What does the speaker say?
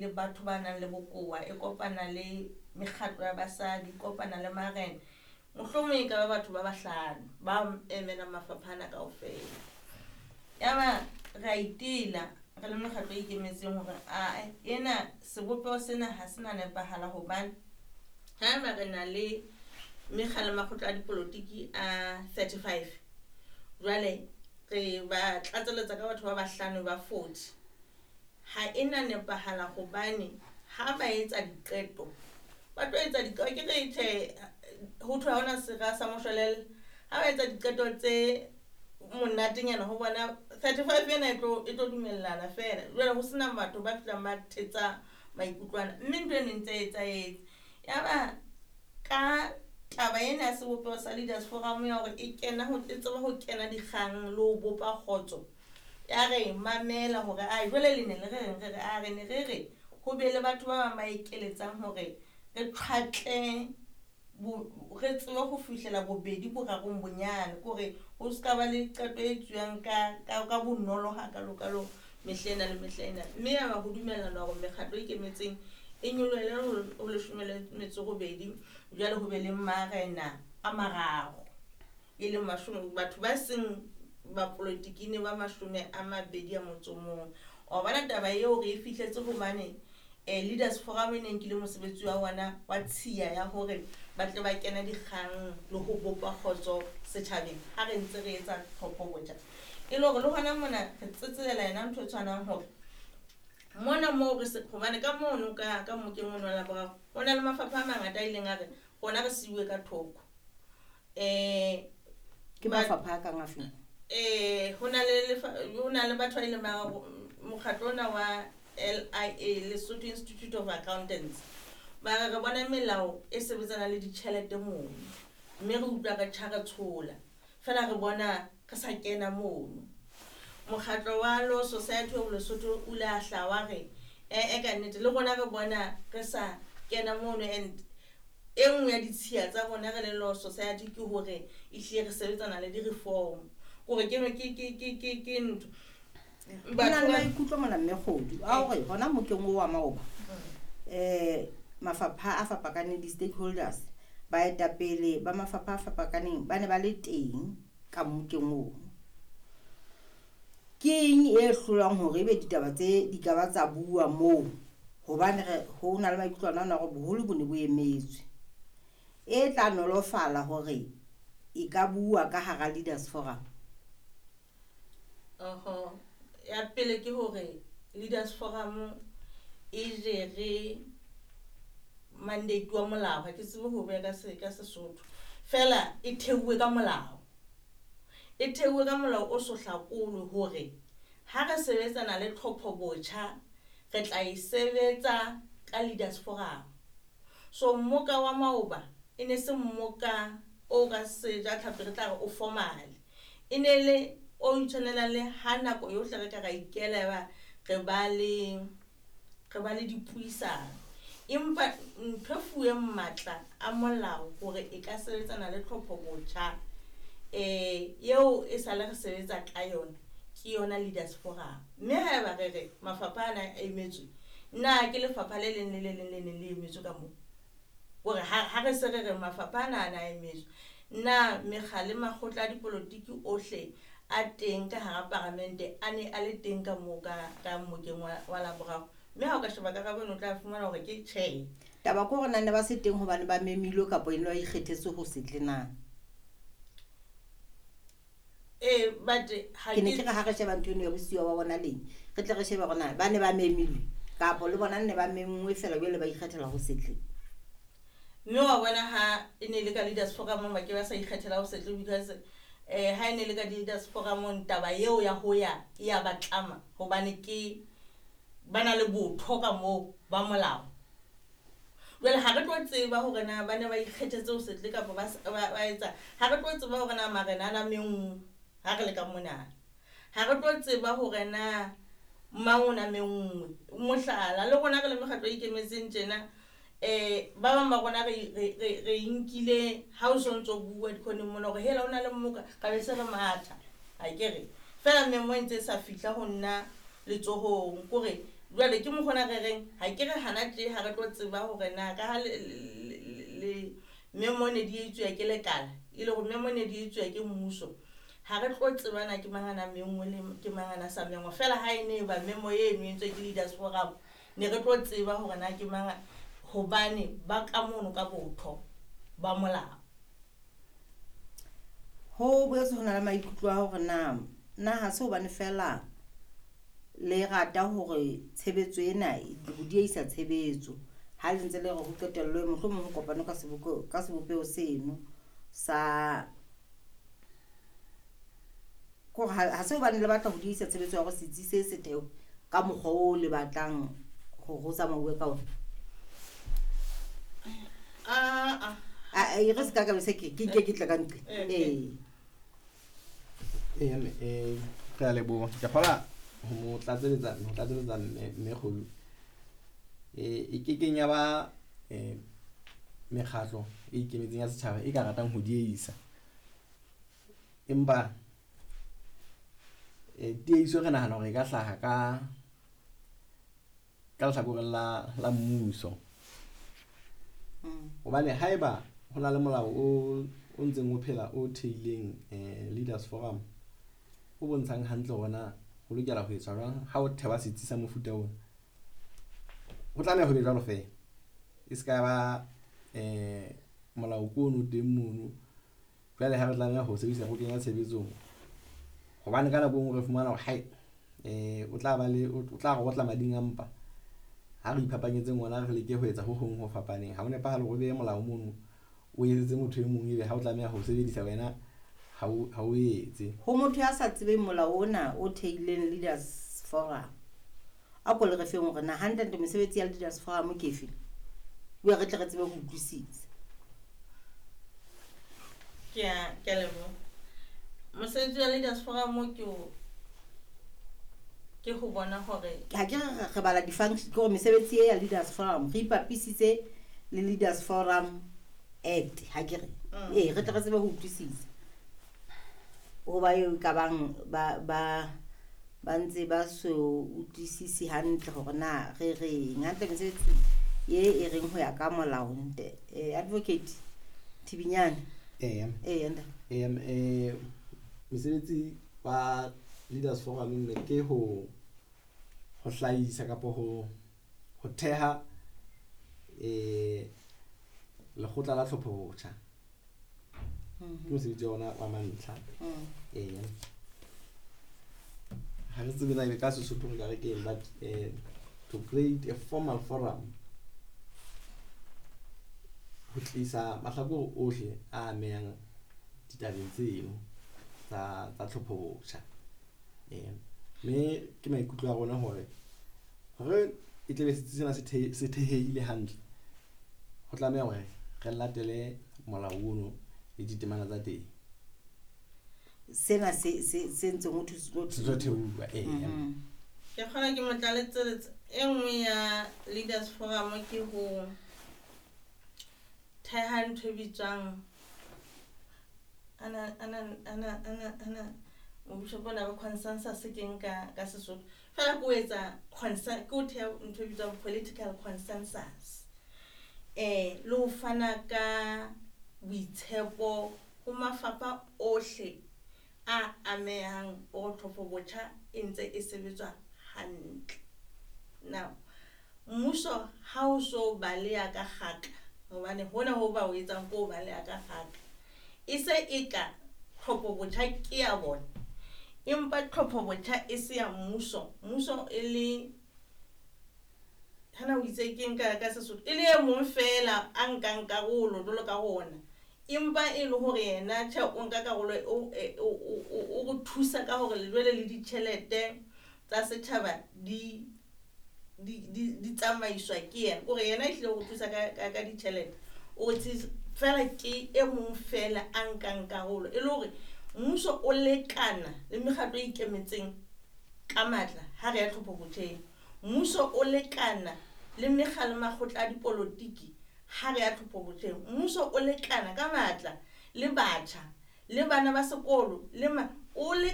Le batho ba nang le bokowa, e kopana le mekgatlo ya basadi, e kopana le marena. Mohlomong e ka ba batho ba bahlano ba emelang mafapha ana kaofela. Yaba re a itela re le mekgatlo e ikemetseng hore ae ena sebopeho sena ha se na nepahala, hobane haeba re na le mekga le makgotla a dipolotiki a 35, jwale re ba tlatseletsa ka batho ba bahlano ba 40, ha e na nepahala, hobane ha ba etsa diqeto ba tlo etsa diqeto ke re tjhe, ho thwe ha hona sera sa moshwelella. Ha ba etsa diqeto tse monatenyana ho bona 35 ena e tlo dumellana feela, jwale ho sena batho ba fihlang ba thetsa maikutlwana, mme ntho eno e ntse e etsahetse. Yaba ka taba ena ya sebopeho sa Leaders Forum ya hore e kena ho, e tseba ho kena dikgang le ho bopa kgotso, ya re mamela hore a jwale le ne le re reng, re re a re ne re re ho be le batho ba bang ba ekeletsang hore re tjhwatle re tsebe ho fihlela bobedi borarong bonyane, ke hore ho ska ba le qeto e etsuwang ka bonolo hakalokalo mehla ena le mehla ena. Mme ya ba ho dumellana hore mekgatlo e ikemetseng e nyolohele ho leshome le metso robedi, jwale ho be le marena a mararo, e leng mashome, batho ba seng ba politiki ne ba 21. Wa bona taba eo re e fihletse hobane Leaders Forum e ne nkile mosebetsi wa bona wa tshiya ya hore ba tle ba kene dikgang le ho bopa kgotso setjhabeng ha re ntse re etsa tlhopho botjha. E le hore le hona mona re tsetselela yona ntho e tshwanang hore mona moo re se, hobane ka mono ka mmokeng ono wa Laboraro ho na le mafapha a mangata a ileng a re rona re siuwe ka thoko. Ke mafapha a kang afe? Ho na le lefa, ho na le batho ba ileng ba re mokgatlo ona wa LIA, Lesotho Institute of Accountants, ba re re bona melao e sebetsanang le ditjhelete mono, mme re utlwa re tjha re tshola fela re bona re sa kena mono. Mokgatlo wa Law Society of Lesotho o ile a hlaha wa re e ka nnete le rona re bona re sa kena mono, and e nngwe ya ditshiya tsa rona re le Law Society ke hore ehlile re sebetsana le di-reform, kore ke ntho. Ho na le maikutlo mona mme Kgodu a hore hona mokeng oo wa maoba, mafapha a fapakaneng, di-stakeholders, baetapele ba mafapha a fapakaneng ba ne ba le teng ka mokeng oo. Ke eng e hlolang hore ebe ditaba tse di ka ba tsa bua moo? Hobane re ho na le maikutlo ana a hore boholo bo ne bo emetswe. E tla nolofala hore e ka bua ka hara Leaders Forum. Oho, ya pele ke hore Leaders Forum e jere mandate wa molao, ha ke tsebe ho beha ka Sesotho. Fela e theuwe ka molao. E theuwe ka molao o so hlakolwe hore ha re sebetsana le tlhopho botjha, re tla e sebetsa ka Leaders Forum. So mmoka wa maoba e ne se mmoka o ka seja tlhapi re tla re o formal. E ne le o itshwanelang le ha nako yohle re ka ra ikela ba re ba le dipuisano. Empa ntho e fuweng matla a molao hore e ka sebetsana le tlhopho botjha, eo e sale re sebetsa ka yona, ke yona Leaders Forum. Mme haeba re re mafapha ana a emetswe, na ke lefapha le leng le le leng le neng le emetswe ka moo? Hore ha re se re re mafapha ana a na emetswe, na mekga le makgotla a dipolotiki ohle a teng ka hara paramente a ne a le teng ka moo ka mmokeng wa Laboraro? Mme ha o ka sheba karabo eno o tla fumana hore ke tjhe. Taba ke hore na ne ba se teng hobane ba memilwe kapa e ne ba ikgethetse ho se tle na? But ha Ke ne ke ke re ha re sheba ntho eno ya bosiwa ba bona leng, re tle re shebe hore na ba ne ba memilwe kapa le bona ne ba menngwe feela jwale ba ikgethela ho se tle. Mme wa bona ha e ne le ka Leaders Forum ba ke ba sa ikgethela ho se tle, because ha e ne le ka Leaders Forum taba eo ya ho ya e ya ba tlama, hobane ke ba na le botho ka moo ba molao. Jwale ha re tlo tseba hore na ba ne ba ikgethetse ho se tle kapa ba etsa, ha re tlo tseba hore na marena a na menngwe ha re le ka mona. Ha re tlo tseba hore na mang o na menngwe. Mohlala, le rona re le mekgatlo e ikemetseng tjena, ba bang ba rona re nkile ha o so ntso bua dikhoneng mona hore hela o na le mmoka, ka be se re matha. Ha ke re, fela memo e ntse e sa fihla ho nna letsohong, kore Jwale ke mokgona re reng ha ke re hana tje ha re tlo tseba hore na ka ha le memo ne di etsuwa ke lekala, e le hore memo ne di etsuwa ke mmuso, ha re tlo tseba na ke mang a na menngwe le ke mang a na sa mengwa. Feela ha e ne ba memo eno e entswe ke Leaders Forum, ne re tlo tseba hore na ke mang, hobane ba ka mono ka botho ba molao. Ho boetse ho na le maikutlo a hore na ha se hobane fela le rata hore tshebetso ena ho dieisa tshebetso ha le ntse le re ho qetellwe mohlomong ho kopane ka sebopeho seno sa kore ha se hobane le batla ho dieisa tshebetso ya hore setsi se se thewe ka mokgwa o le batlang hore ho tsamauwe ka ona. Aa. E re se ka ka bese ke ke ke tla ka ntle. Ee. Ee, mme, re a leboha. Ke kgola ho mo tlatseletsa mme Kgolu. E kekeng ya ba mekgatlo e ikemetseng ya setjhaba e ka ratang ho dieisa. Empa tiehiso re nahana hore e ka hlaha ka lehlakoreng la mmuso. Hobane haeba ho na le molao o ntseng o phela o theileng Leaders Forum o bontshang hantle hore na ho lokela ho etswa jwang ha o thewa setsi sa mofuta ona, ho tlameha ho be jwalo feela. E se ka ba molao ke ono teng mono, jwale ha re tlameha ho sebedisa ho kenya tshebetsong, hobane ka nako e nngwe re fumana hore hai, o tla ba le, o tla re otla mading a mpa ha re iphapanyetseng ona, re leke ho etsa ho hong ho fapaneng. Ha ho nepahale hore o behe molao mono o etsetse motho e mong, ebe ha o tlameha ho sebedisa wena ha o etse. Ho motho ya sa tsebeng molao ona o theileng Leaders Forum, a ko le re feng hore na hantle-ntle mesebetsi ya Leaders Forum ke efe, ebe re tle re tsebe ho utlwisisa. Ke a leboha. Mosebetsi wa Leaders Forum ke ho bona hore ha ke re bala di-function, ke hore mesebetsi e ya Leaders Forum re ipapisitse le Leaders Forum Act, ha ke re. Ee, re tle re tsebe ho utlwisisa. Hoba eo e ka bang ba ntse ba so utlwisise hantle hore na re reng. Hantle mesebetsi ye e reng ho ya ka molao nte. Advocate Thibinyane. Ee. Ee, ntate. Ee, mesebetsi wa Leaders Forum mme ke ho hlahisa kapa ho theha lekgotla la tlhopho botjha. Ke mosebetsi wa ona wa mantlha. Ee. Ha re tsebe na ebe ka Sesotho re ka re ke eng, but to create a formal forum ho tlisa mahlakore ohle a amehang ditabeng tseno tsa tlhopho botjha. Mme ke maikutlo a rona hore e tle be setsi sena se thehehile hantle, ho tlameha hore re latele molao ono le ditemana tsa teng. Sena se ntseng ho thwe se tlo Se tlo thehuwa, ee. Ke kgona ke mo tlaletseletsa. E nngwe ya Leaders Forum ke ho theha ntho e bitswang ana mobishopo ona ba consensus ke nka ka Sesotho. Feela ke ho etsa ke ho theha ntho e bitswang political consensus. Le ho fana ka boitshepo ho mafapha ohle a amehang hore tlhopho botjha e ntse e sebetswa hantle. Now, mmuso ha o so baleha ka kgaka, hobane hona ho ba o etsang ko baleha ka kgaka, e se e ka tlhopho botjha ke ya bona, empa tlhopho botjha e se ya mmuso. Mmuso e le hana o itse ke nka ka Sesotho, e le e mong fela a nkang karolo jwalo ka rona, empa e le hore yena tjhe o nka karolo, o re thusa ka hore jwale le ditjhelete tsa setjhaba di tsamaiswa ke yena. Kore yena ehlile o re thusa ka ditjhelete, o re fela ke e mong fela a nkang karolo, e le hore mmuso o lekana le mekgatlo e ikemetseng ka matla ha re ya tlhopho botjheng. Mmuso o lekana le mekga le makgotla a dipolotiki ha re ya tlhopho botjheng. Mmuso o lekana ka matla le batjha le bana ba sekolo le o le